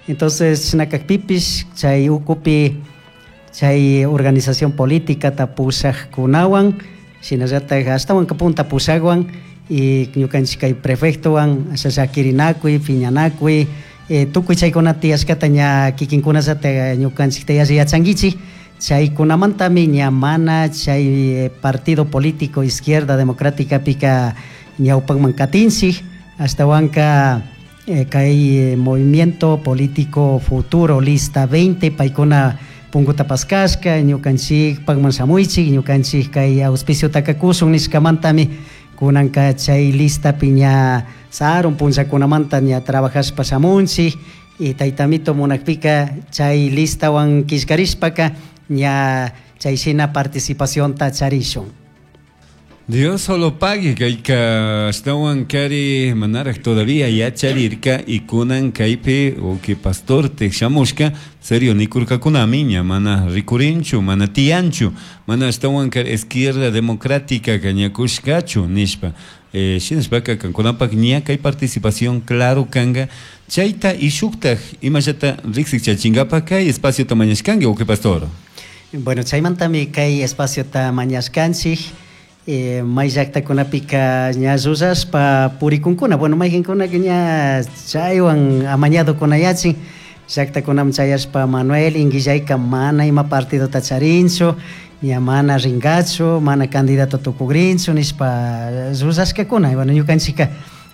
Entonces shina kakpipish chay ukupi chay organización políticata pushakkunawan, shinallatak ashtawanka punta pushakwan y ñukanchik kay prefectowan asha llakirinakuy, piñanakuy, tukuy chaykuna tiyashkata ña kikinkunallata ñukanchikta yalli yachankichik. Chaykunamantami ña mana chay partido político Izquierda Democráticapika ñawpakman katinchik, ashtawanka kay Movimiento Político Futuro Lista 20 paykuna punkuta paskashka, ñukanchikpakman shamuychik, ñukanchik kay auspiciotaka kushun nishkamantami kunanka chay listapi ña sarun punllakunamanta ña trabajashpa shamunchik. Y taytamito munakpika chay listawan killkarishpaka ña chay shina participacionta charishun. Dios solo pague kayka ashtawan kari manaraj todavía yacharirka y kunan kaypi uki pastor shamushka serio nikurkakunami ña mana rikurinchu, mana tiyanchu, mana ashtawan kari Izquierda Democrática ñakushkachu nishpa. Shinashpaka kankunapak ña kay participación claro kanga chayta y shuktaj imallata riksik chachingapak kay espaciota mañashkanki, uki pastor. Bueno, chaymantami kay espaciota mañashkanchik. May llaktakunapika ña llullashpa purikunkuna, bueno, mayqinkunaka ña chaywan amañadokunayachin llaktakunaman chayashpa Manuel Inguillayka mana ima partidota charinchu, ña mana ringachu, mana candidato tukugrinchu nishpa llullashkakuna. Y bueno, ñukanchika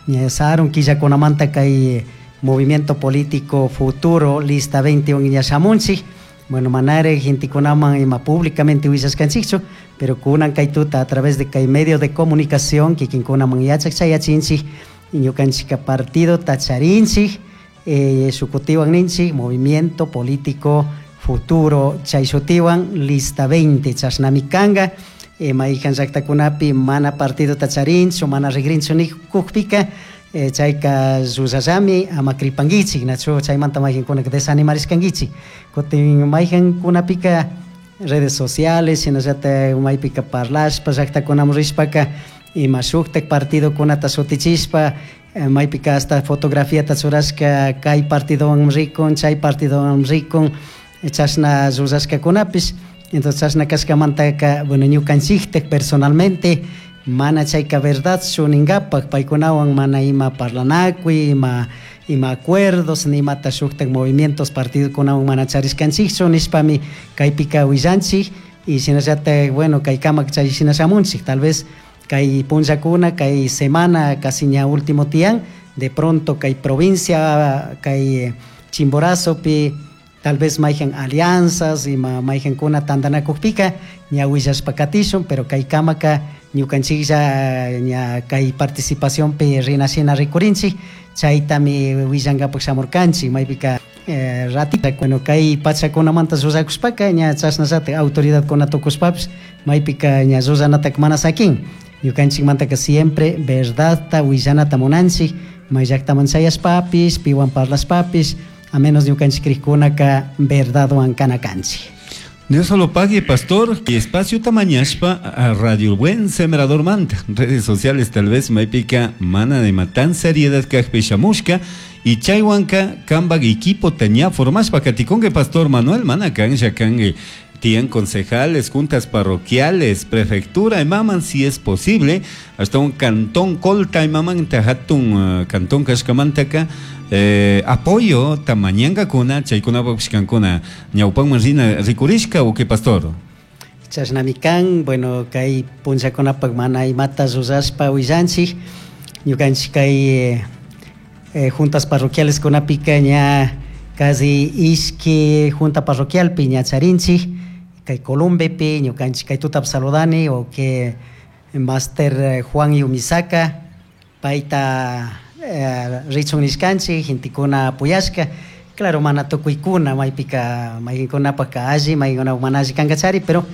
ña sarun killakunamanta kay Movimiento Político Futuro Lista 21 ña shamunchik. Bueno, manare gentekunaman ima públicamente willashkanchikchu, pero kunan kay tuta a través de kay medio de comunicación kikinkunaman yachak chayachinchik, ñukanchika partido tacharinchik, shukutiwan ninchik Movimiento Político Futuro chay shutiwan Lista 20 chashnami kanga. Maykan llaktakunapi mana partido tacharinchu, mana rigrinchu nikukpika, chayka llullallami, ama kripankichik, nachu chaymanta mayqinkunaka desanimarishkankichik. Kutin mayqinkunapika redes sociales, shinallatak maypika parlashpa llaktakunaman rishpaka ima shuktak partidokunata shutichishpa, maypika hasta fotografiata churashka kay partidowan rikun, chay partidowan rikun, chashna llullashkakunapish. Entonces chashna kashkamantaka, bueno, ñukanchiktak personalmente mana chayka verdadchu ninkapak paykunawan mana ima parlanakuy, ima acuerdos, ni imata shuktak movimientos partidokunawan mana charishkanchikchu nishpami kaypika willanchik. Y shinallatak, bueno, kay kamak chay shina shamunchik, tal vez kay punllakuna, kay semana casi ña último tiyan, de pronto kay provincia, kay Chimborazopi, tal vez mayhan alianzas, ima mayhankuna tantanakukpika ña willashpa katishun, pero kay kamaka ñukanchiklla ña kay participacionpi rina shina rikurinchik, chaytami willankapak shamurkanchik. Maypika ratita, bueno, kay pachakunamanta llullakushpaka ña chashnallatak autoridadkuna tukushpapish maypika ña llullanataka mana sakin. Ñukanchikmantaka siempre verdadta willanata munanchik, may llaktaman chayashpapish, piwan parlashpapish, a menos ñukanchik krikkunaka verdadwan kana kanchik. Dios solo pague, pastor, y espacio tamañashpa a Radio Buen Sembrador Manta. Redes sociales tal vez maypika mana de matan seriedad kajpi shamushka y chaywanka kambak equipo taña formashpa katikonge pastor Manuel mana kanja kange tian concejales, juntas parroquiales, prefectura, imaman si es posible, hasta un cantón colta imaman tajatun cantón kashkamantaka, apoyo tamañanga kuna chaykuna kuna ñawpanman rina rikurishka o qué, pastor. Chashnami kan, bueno, kay punllakunapak mana imata rurashpa willanchik, ñukanchik kay juntas parroquiales kunapika ña casi ishki junta parroquialpi ña charinchik, kay Columbepi ñukanchik kay tutap saludani o que Master Juan Yumisaka payta richun nishkanchik, gentekuna apoyashka. Claro, mana tukuykuna maypika mayqinkunapaka alli, mayqinkunapak mana alli kankachari, pero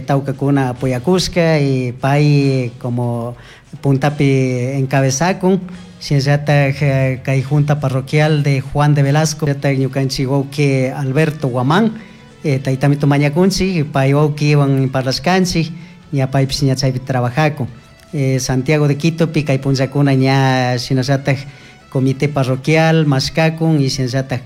tawkakuna apoyakushka y pay como puntapi encabezakun. Shinallatak kay junta parroquial de Juan de Velasco, shinallatak ñukanchik wawki Alberto Guamán, taytamito mañakunchik, pay wawkiwan parlashkanchik, ña paypish ña chaypi trabajakun. Santiago de Quitopi kay punllakuna ña shinallatak comité parroquial mashkakun y shinallatak